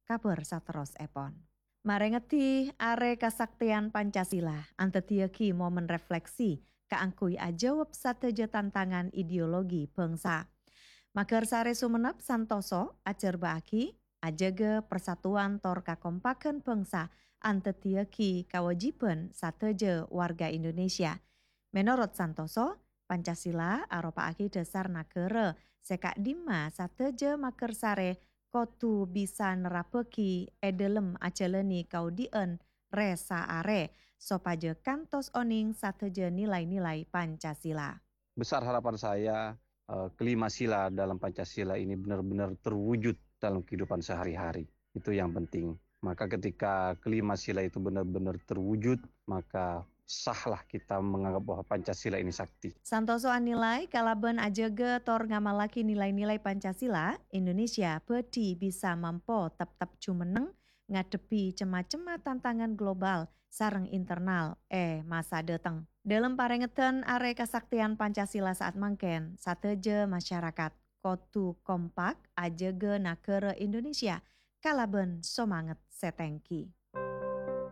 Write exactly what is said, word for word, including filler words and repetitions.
kabhâr saterrossèpon. Marèngeddi Arè Kasaktèyan Pancasila andaddhiyâghi momen refleksi kaangghuy ajâwâb sadhâjâ tantangan ideologi bhângsa. Maghârsarè Songennep santoso ajhârbâ'âghi ajâgâ parsatuan tor kakompaghân bhângsa andaddhiyâghi kawâjibhân sadhâjâ warga Indonesia. Menorot santoso, Pancasila aropa'aghi dhâsar naghârâ sè ka'dimma sadhâjâ maghârsarè kodhu bisa nerrabbhâghi è dhâlem ajhâlânè kaodi'ân rè-saarè, sopajâ kantos onèng sadhâjâ nilai-nilai Pancasila. Besar harapan saya, eh, kelima sila dalam Pancasila ini benar-benar terwujud dalam kehidupan sehari-hari. Itu yang penting. Maka ketika kelima sila itu benar-benar terwujud, maka sahlah kita menganggap bahwa Pancasila ini sakti. Santoso anilai, kalabân ajâgâ tor ngamallaghi nilai-nilai Pancasila, Indonesia bhâdhi bisa mampo teptep jumenneng ngadhebbhi cem-macemma tantangan global sareng internal è masa dhâteng. Dhâlem parèngedhân Arè Kasaktèyan Pancasila sa'at mangkèn, sadhâjâ masyarakat kodhu kompak ajâgâ naghârâ Indonesia kalabân somanget sè tèngghi.